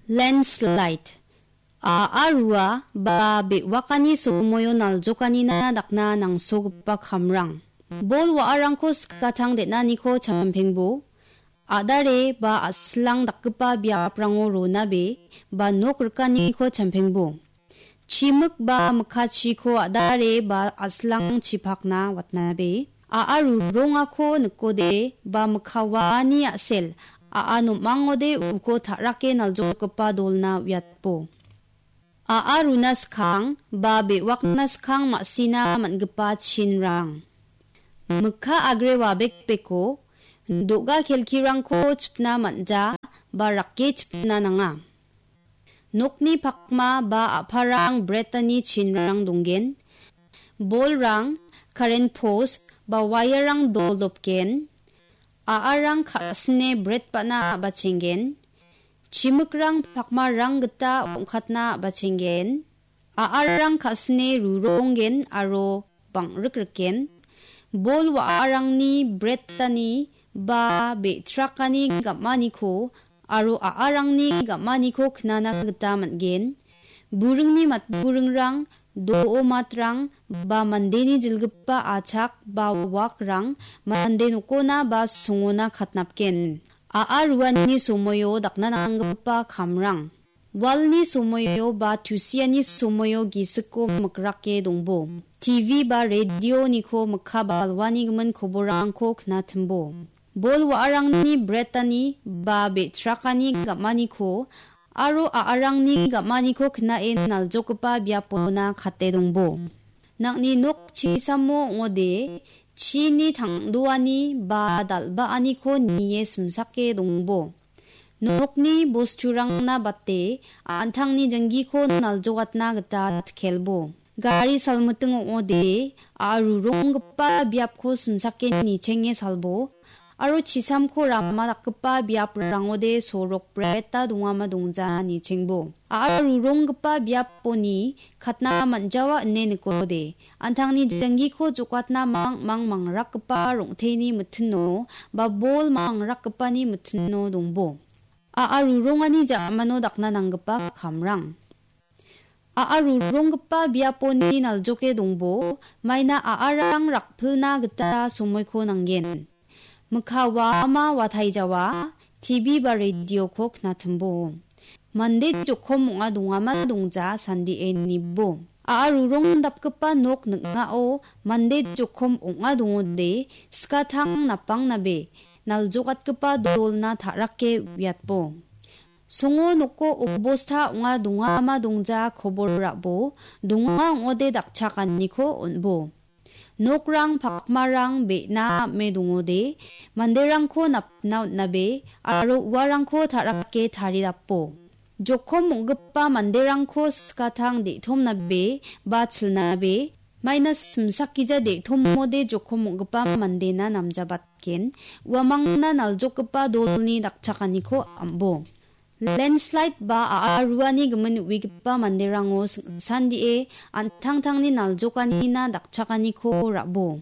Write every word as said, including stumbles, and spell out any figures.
Landslide. A·a rua ba be·wakani somoio naljokanina dakna nangsogipa kamrang. Bol wa·arangko skatang den·aniko champengbo. A·dare ba a·silang dakgipa biaprango ronabe ba nok rikaniko champengbo. Chimik ba mikkachiko a·dare ba a·silang chipakna watnabe. A·a rurongako nikode ba mikka waani a·sel a·a nom·angode uko ta·rake naljokgipa dolna uiatbo. A·a runa skang ba be·wakna skang ma·sina man·gipa chinrang. Mikka agre wabekbeko do·ga kelkirangko chipna man·ja ba rake chipna nanga. Nokni pakma ba a·parang bretani chinrang donggen. Bolrang, karen pos ba wairang doldopgen. A·arang ka·sine bret ba·na a·bachenggen. Chimikrang pakmarang gita ong·katna a·bachenggen. A·arang ka·sine ruronggen aro bang·rikrikgen. Bol wa·arangni bretani ba be·trakani gam·aniko aro a·arangni gam·aniko knana gita man·gen. Buringni matburingrang, do·o matrang ba mandeni jilgipa achak ba wakrang mande nokona ba songona katnapgen. A·a ruani somoio dakna nanggipa kamrang. Walni somoio ba tusiani somoio gisiko mikrake dongbo. T V ba radioniko mikka balwani gimin koborrangko knatimbo. Bol wa·arangni bretani ba be·trakani gam·aniko aro a·arangni gam·aniko knae naljokgipa biapona kate dongbo. Nang·ni nok chisamo ong·ode chini tang·doani ba dal·baaniko nie simsake dongbo. Nokni bosturangna bate an·tangni janggiko naljokatna gita tkelbo. Gari salmiting ong·ode a·ruronggipa biapko simsake nichenge salbo. Aro chisamko rama dakgipa biaprangode sorok breta dongama dongja nichengbo. A·ruronggipa biaponi katna man·jawa ine nikode, an·tangni janggiko jokatna mang·mang mangrakgipa rong·teni mitino ba bol mangrakgipani mitino dongbo. A·a rurongani ja·mano dakna nanggipa kamrang. A·a ruronggipa biaponi naljoke dongbo, maina a·arang rakpilna gita somoiko nanggen. Mikka waama wataijawa, T V ba radioko knatimbo. Mande jokom ong·a dongama dongja sandie nibo. A·a rurong dapgipa nok ning·ao mande jokom ong·a dongode, skatang napangnabe naljokatgipa dolna ta·rake uiatbo. Songo noko obosta ong·a dongama dongja kobor ra·bo, donga ong·ode dakchakaniko on·bo. Nokrang pakmarang be·na ame dongode, manderangko napna on·nabe aro uarangko ta·rake taridapo. Jokom ong·gipa manderangko skatang de·tomnabe ba chilnabe, maina simsakgija de·tomode jokom ong·gipa mandena namjabatgen, uamangna naljokgipa dolni dakchakaniko am·bo. Landslide ba a·a ruani gimin uigipa manderango sing·sandie an·tangtangni naljokanina dakchakaniko ra·bo.